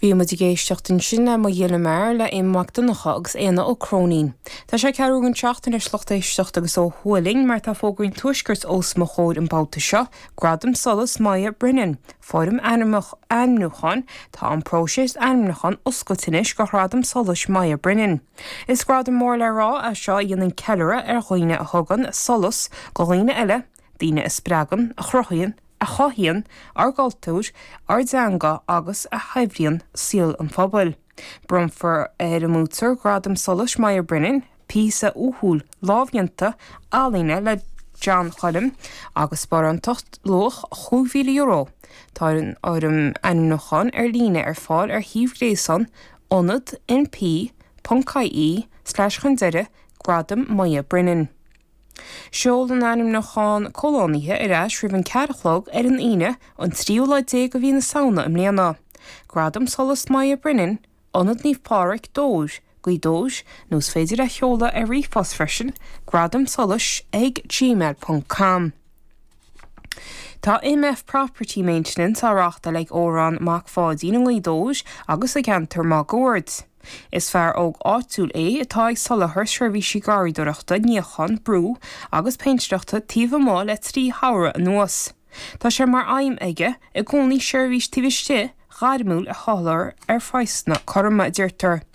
Bhí muid ag éisteacht ansin le Mo Ghile Mear le Éamonn Mac Donncha agus Éanna Ó Cróinín. Tá sé ceathrú don seacht anois lucht éisteachta agus ó thuaidh linn mar tá fógraí an Tuaiscirt os mo chomhair an babhta seo, Gradam Solais Moya Brennan, Foirm ainmniúcháin, Tá an próiseas ainmniúcháin oscailte anois do Ghradam Solais Moya Brennan. Is gradam mór le rá é seo a dhéanann ceiliúradh ar dhaoine a thugann solas do dhaoine eile, daoine a spreagann, a chruthaíonn, a chothaíonn ár gcultúr, ár dteanga agus a shaibhríonn saol an phobail. Bronnfar ar an mbuaiteoir Gradam Solais Moya Brennan píosa uathúil lámhdhéanta ealaíne le John Choilm agus sparántacht luach €5,000. Tá an fhoirm ainmniúcháin ar líne ar fáil ar shuíomh gréasáin Ionad NP ponc IE slash chun deireadh Gradam Moya Brennan. Seol an ainmniúchán comhlánaithe ar ais roimh an 4 a chlog ar an Aoine, an tríú lá déag de mhí na Samhna i mbliana. Gradam Solais Moya Brennan, Ionad Naomh Pádraig, Dobhair, Gaoth Dobhair, nó is féidir é a sheoladh ar ríomhphost freisin, gradamsolais ag gmail ponc com. Tá MF Property Maintenance á reáchtáil ag Odhrán Mac Pháidín i nGaoth Dobhair agus sa gceantar máguaird. Is fear óg áitiúil é atá ag soláthar seirbhísí garraíodóireachta, níocháin, brú agus péintéireachta taobh amuigh le 3 shamhradh anuas. Tá sé mar aidhm aige i gcónaí seirbhís taobh istigh ghairmiúil a sholáthar ar phraghsanna cothroma, a deirtear.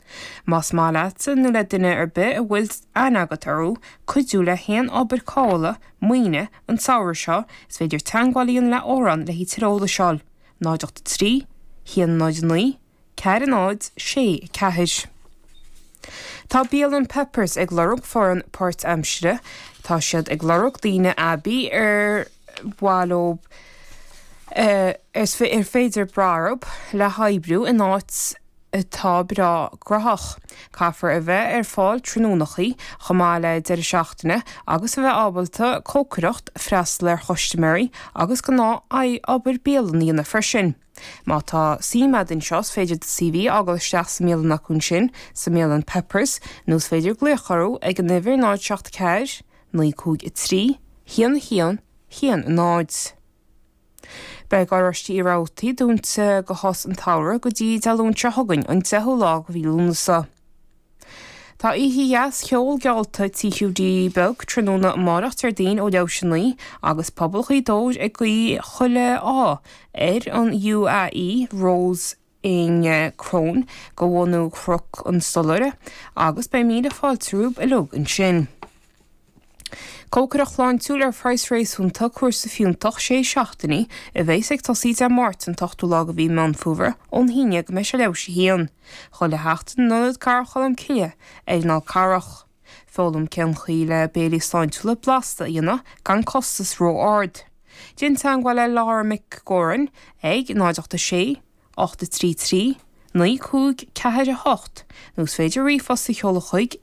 Más maith leatsa nó le duine ar bith a bhfuil aithne agat orthu cuidiú le haon obair cothabhála maoine an samhradh seo, is féidir teagmháil a dhéanamh le Odhrán le haghaidh tuilleadh eolais a fháil, 0 8 3 1 0 9 4 0 6 4. Tá bialann Peppers ag lorg foireann páirtaimsire. Tá siad ag lorg daoine aibí ar mhaith leo ar féidir brath orthu le hoibriú in áit atá breá graitheach. Caithfear a bheith ar fáil tráthnónachaí, chomh maith le deireadh seachtaine, agus a bheith ábalta cócaireacht, freastal ar chustaiméirí agus gnáth-obair bialann a dhéanamh freisin. Má tá suim agat anseo, is féidir do CV a fhágáil isteach sa mbialann acu ansin, sa mbialann Peppers, nó is féidir glaoch orthu ag an uimhir 0 7 4 9 5 3 1 1 1 0. Beidh Garáiste Uí Rabhartaigh dúnta go shos an tsamhraidh go dtí Dé Luain seo chugainn, an 10ú lá de mhí Lúnasa. Tá oíche dheas cheoil geallta Tí Hiúdaí Beag tráthnóna amárach Déardaoin ó leathuair théis a 9 agus pobal Ghaoth Dobhair ag guí chuile ádh ar an UAE Rose in Crone de bhunadh Chnoc an Stolaire agus beidh míle fáilte romhaibh uilig ansin. Cócaireacht shláintiúil ar phraghas réasúnta, cúrsa fiúntach sé seachtainí a bheas ag tosaí Dé Máirt an t-ochtú lá de mhí Meán Fómhair ón haon déag go mbeidh sé leathuair théis a haon, chuile sheachtain in Ionad Cathrach Cholm Cille ar an Fhál Carrach. Foghlaim cén chaoi le béilí sláintiúla blasta a dhéanamh gan costas ró-ard. Déan teagmháil le Laura Mhic Górain ag 0 8 6 8 3 3 9 5 4 8 nó is féidir ríomhphost a sheoladh chuig.